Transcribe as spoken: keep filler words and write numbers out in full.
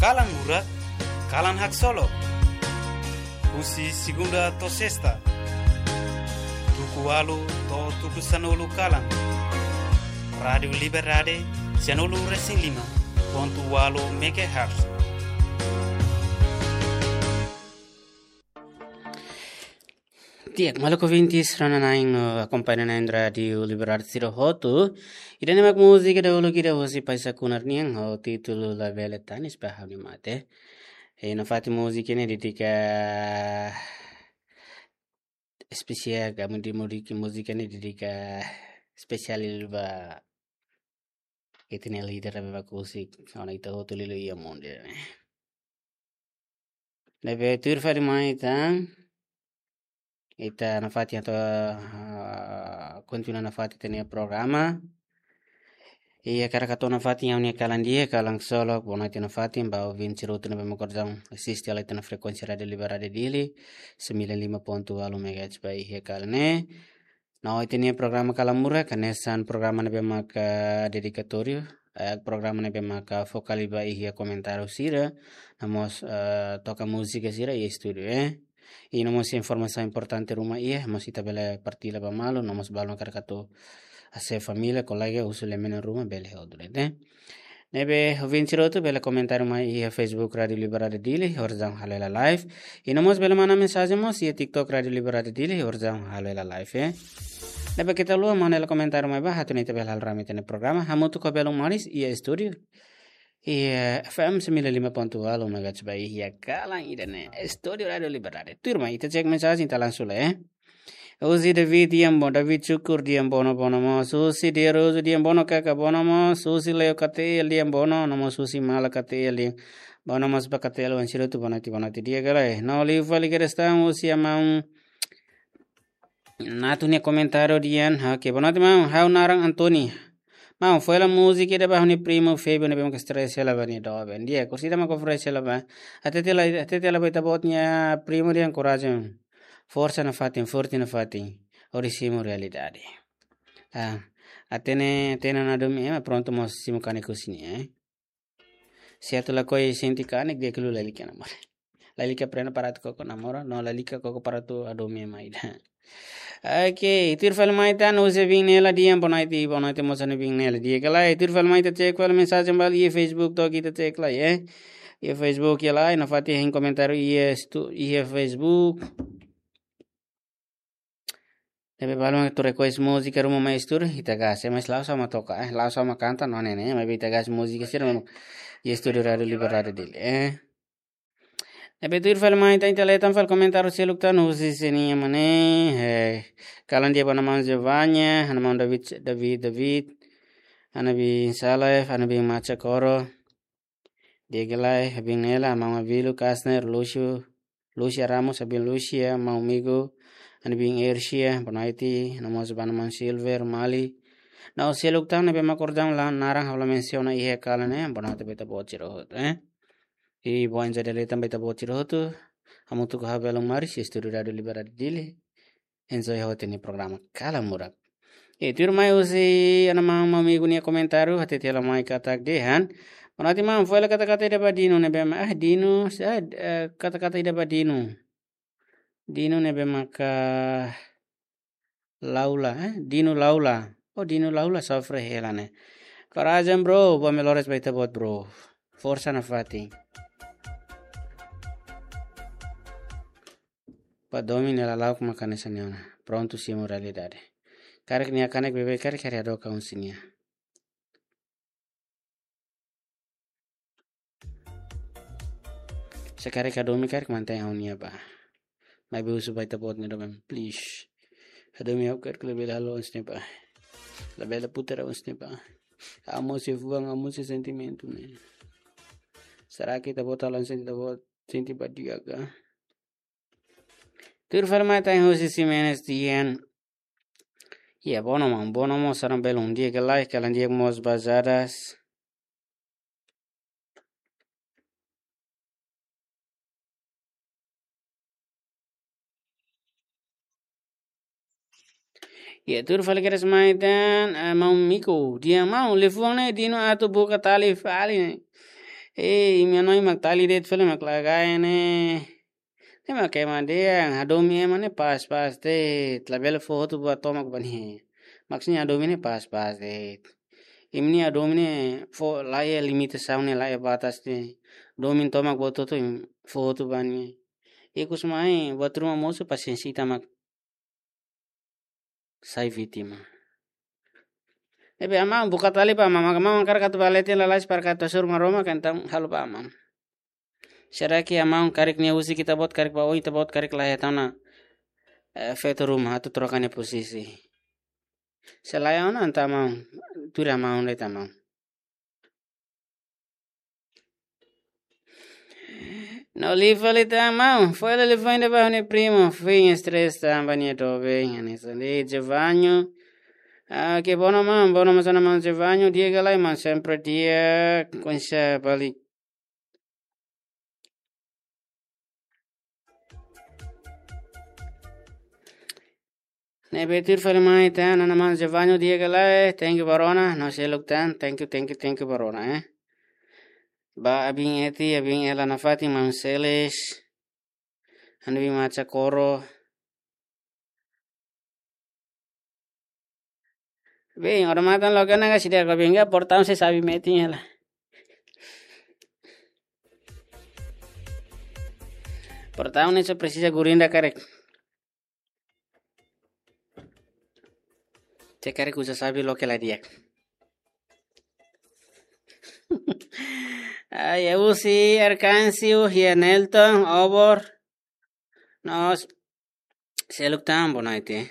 Kalan Murak, kalan haksolok. Husi segunda to'o sesta, tuku ualu to'o tuku sanulu kalan. Rádiu Liberdade, sianulu resin lima pontu ualu megahertz. Di'ak, maluk ouvintes, rona-na'in no akompaña na'in Rádiu Liberdade sira hotu. Ida-ne'e mak múzika dahuluk ida husi Paisa Kunar nian, ho títulu Labele Tanis ba Ha'u-nia Mate. E nafatin múzika ne'e dedika espesiál, ka mudi mudi ki múzika ne'e dedika espesiál liu ba ita-nia líder ne'ebé mak husik ona ita hotu liuliu iha mundu ne'e. Ne'ebé tuir fali mai tan, ita nafatin atu, ah, kontinua nafatin ita-nia programa. I hakarak hato'o nafatin ha'u-nia kalan di'ak, kalan solok, boa noite nafatin ba ouvinte sira hotu ne'ebé mak orsida asiste hela ita-nia frekuénsia Rádiu Liberdade Dili, sembilan lima pontu ualu megahertz ba iha kalan ne'e. No ita-nia programa Kalan Murak, hanesan programa ne'ebé maka dedikatóriu, eh, programa ne'ebé maka foka liu ba iha komentáriu sira, no mós, eh, toka múzika sira iha estúdiu, eh. I no mós informasaun importante ruma iha, mós ita bele partilla ba malu, no mós balu hakarak atu hasoru família, kolega, husu lia-menon ruma, bele hodi, eh. Ne'ebé ouvinte sira hotu bele komentáriu mai iha Facebook Rádiu Liberdade Dili, orsida halo hela live. I no mós bele manda mensajen mós iha TikTok Rádiu Liberdade Dili, orsida halo hela live, eh. Ne'ebé keta haluha manda hela komentáriu mai ba, atu nune'e ita bele halo rame ita-nia programa, hamutuk ho belun manis iha estúdiu. Iha F M sembilan lima pontu ualu megahertz ba iha kalan ida-ne'e, estúdiu Rádiu Liberdade. Tuirmai, ita cek mensajen, ita langsung lai, eh. Husi David Diambo, David Syukur Diambo, no bono mós. Husi Dia Rosu Diambo, no kaka bono mós. Husi Leo K T L Diambo, no mós husi Mala K T L Diambo. Bono mós ba K T L wan sira hotu, boa noite, boa noite. Di'ak ka lae? No liu fali kedas tan husi maun Natu nia komentáriu dehan, oke, boa noite maun, ha'u naran Antoni. Maun, fó hela múzika ida ba ha'u-nia primu Febio ne'ebé mak stress hela ba nia doben. Di'ak, orsida mak oferese hela ba. Hatete hela, hatete hela ba ita-boot nia primu dehan korajen. Forsa nafatin, forte nafatin. Hodi simu realidade. Ah, hatene, hatene ona hadomi ema, prontu mós simu kanek husi nia, eh. Se atu lakohi sente kanek, di'ak liu lalika namora. Lalika prenda para atu koko namora, no lalika koko para atu hadomi ema ida. Oke, tuir fali mai tan husi Biin Nela dehan boa noite, boa noite mós ha'u-nia Biin Nela. Di'ak ka lae? Tuir fali mai ita cek fali mensajen balu iha Facebook to'ok ita cek lai, eh. Iha Facebook iha lai, nafatin hein komentáriu iha estu-, iha Facebook. Ne'ebé balu mak atu request múzika ruma mai estúdiu, ita gase, mas la'ós ha'u mak toka, eh, la'ós ha'u mak kanta, no ne'e ne'e, maibé ita gase múzika sira mak iha estúdiu Rádiu Liberdade Dili, eh. Ne'ebé tuir fali mai tan, ita lee tan fali komentáriu seluk tan, husi sira-nia mane, eh, kalan di'ak ba ha'u-nia maun Giovanni, ha'u-nia maun David, David, David, ha'u-nia biin Saleh, ha'u-nia biin Macha Koro. Di'ak ka lae, ha'u-nia biin Nela, maun Avilu, Kasner, Lúcio, Lúcia Ramos, ha'u-nia biin Lúcia, maun Migo, ha'u-nia biin Ersia, boa noite, no mós ba ha'u-nia maun Silver, Mali. No seluk tan ne'ebé mak orsida la naran ha'u la mensiona iha kalan ne'e, boa noite ba ita-boot sira hotu, eh. I boa enjoy dala ida tan ba ita-boot sira hotu, hamutuk ho ha'u belun manis, estúdiu Rádiu Liberdade Dili. Enjoy hotu ita-nia programa Kalan Murak. E tuirmai husi ha'u-nia maun, maun Migo nia komentáriu, hatete hela mai katak dehan. Boa noite maun, fó hela kata-kata ida ba Dino ne'ebé mak, ah, Dino, sa, eh, kata-kata ida ba Dino. Dino ne'ebé maka Laula, eh, Dino Laula. Oh, Dino Laula sofre hela ne'e. Korajen bro, boa melhoras ba ita-boot bro. Forsa nafatin. Ba domin nia lala'ok mak hanesan ne'e ona. Prontu simu realidade. Karik nia kanek beibeik karik hadook husi nia. Se karik hadomi karik mantein ha'u-nia ba. Maibé husu ba ita-boot nia doben, please. Hadomi ha'u karik labele halo hanesan ne'e ba. Labele putar hanesan ne'e ba. Ha'u mós sei fuan, ha'u mós sei sentimentu ne'e. Será que ita-boot halo hanesan ne'e ita-boot sente ba di'ak ka? Tuir fali mai tan husi Ximenes dehan. Iha bono maun, bono mós sarang belun, di'ak ka lae, kalan di'ak mós ba Jadas. Iha tuir fali kedas mai tan, eh, maun Migo dehan maun, liafuan ne'e Dino atu buka tali fali ne'e. Eh, imi hanoin mak tali de'it fali mak lagai ne'e. Ne'e mak ema dehan hadomi ema ne'e pas-pas de'it, labele fó hotu ba tomak ba nia. Maksudnya hadomi ne'e pas-pas de'it. Imi-nia hadomi ne'e fó laiha limitasaun ne'e, laiha batas ne'e. Domin tomak buat hotu imi fó hotu ba nia. Ikus mai buat ruma mosu pasiénsia ita mak sai vítima. Ne'ebé amá buka tali ba amá, maka amá hakarak atu bá leten lalais para atu hasoru Maromak, entaun halo ba amá. Será que amá karik nia husik ita-boot, karik bá oin ita-boot, karik laiha ita-nia, eh, feto ruma atu troka nia posisi? Se laiha ona entaun amá, tuir amá de'it amá. No live fali tan amá, fó hela live ainda ba ha'u-nia primo, foin stress tanba nia doben, hanesan de'it Jevanho. Ah, que bom, amá, bom, mas amá Jevanho, di'ak ka lae, amá, sempre di'ak, konsa balik. Ne'ebé tuir fali mai tan, amá Jevanho, di'ak ka lae, thank you ba rona, no seluk tan, thank you, thank you, thank you ba rona, eh. Ba Abin Eti, Abin Ela nafatin, Mam Seles, Hanbi Macha Koro. Bem, ora matan logo na gasi dia ko benga portaun se sabi metin hela. Portaun ne'e só presiza gurinda karik. Se karik uza sabi loke la di'ak. Ai, Eusi, Arkansio, Hia Nelton, Obor. Nos, seluk tan, boa noite.